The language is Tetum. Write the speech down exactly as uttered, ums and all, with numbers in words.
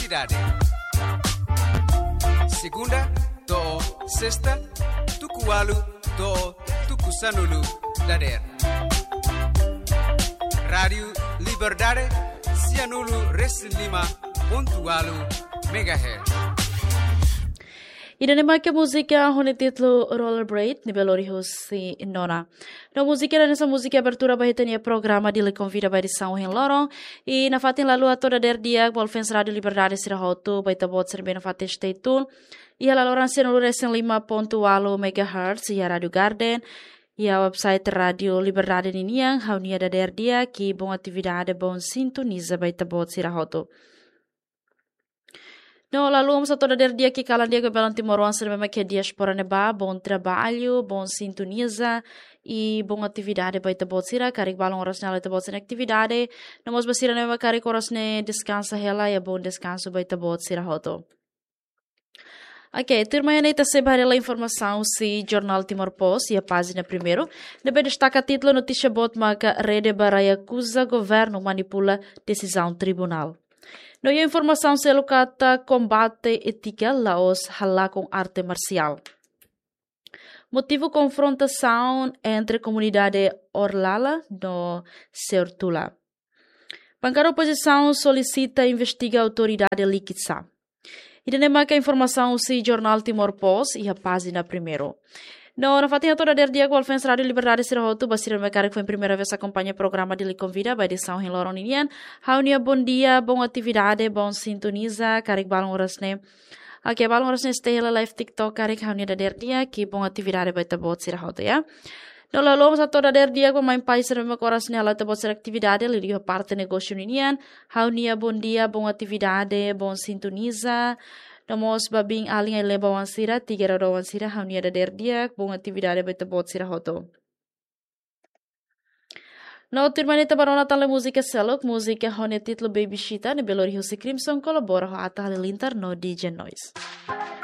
Cidade. Segunda to'o sesta, tuku ualu to'o tuku sanulu dadeer. Rádiu Liberdade, sianulu resin lima pontu ualu megahertz. Ida-ne'e maka múzika ho nia títulu Rollerblade, ne'ebé lori husi Nona. No múzika ida-ne'e sai múzika abertura ba ita-nia programa Dili Konvida ba edisaun ohin loron. I nafatin ha'u hato'o dadeer di'ak ba fans Rádiu Liberdade sira hotu, ba ita-boot sira ne'ebé nafatin stay tune iha laloran sianulu resin lima pontu ualu megahertz iha Rádiu Garden, iha website Rádiu Liberdade ninian. Ha'u-nia dadeer di'ak, i bom atividade, bom sintoniza ba ita-boot sira hotu. No, ha'u hato'o dadeer di'ak, i kalan di'ak ba belun timoroan sira ne'ebé mak iha diáspora ne'ebá, bom trabalho, bom sintoniza, i bom atividade ba ita-boot sira, karik balun oras ne'e halo ita-boot sira-nia atividade, no mós ba sira ne'ebé mak karik oras ne'e deskansa hela, iha bom deskansu ba ita-boot sira hotu. Ok, tuirmai ne'e ita sei bá haree hela informasaun husi jornál Timor Post iha pájina primeiru, ne'ebé destaka títulu notísia boot maka Rede Barai akuza governu manipula desizaun tribunál. No iha informasaun seluk katak kombate étika la'ós halakon arte marsiál. Motivu konfrontasaun entre komunidade Orlala no Seortula. Bankada opozisaun solisita investiga autoridade Likitsa. Ida-ne'e maka informasaun husi jornál Timor Post iha pájina primeiru. No, nafatin hato'o dadeer di'ak ba fans Rádiu Liberdade sira hotu, ba sira ne'ebé karik foin primeira vez akompaña programa Dili Konvida ba edisaun ohin loron ninian. Ha'u-nia bom dia, bom atividade, bom sintoniza, karik balun oras ne'e. Ok, balun oras ne'e stay hela live TikTok, karik ha'u-nia dadeer di'ak, i bom atividade ba ita-boot sira hotu, ya. No, ha'u hato'o dadeer di'ak ba mãe pai sira ne'ebé mak oras ne'e halo ita-boot sira-nia atividade, liuliu iha parte negósiu ninian. Ha'u-nia bom dia, bom atividade, bom sintoniza. No mós ba biin-alin ai-leba oan sira, tiga rau oan sira, ha'u-nia dadeer di'ak, bom atividade ba ita-boot sira hotu. No, tuirmai ne'e ita bá rona tan hela múzika seluk, múzika ho nia títulu Baby Chita, ne'ebé lori husi Crimson, kolabora ho Atta Halilintar no D J Noise.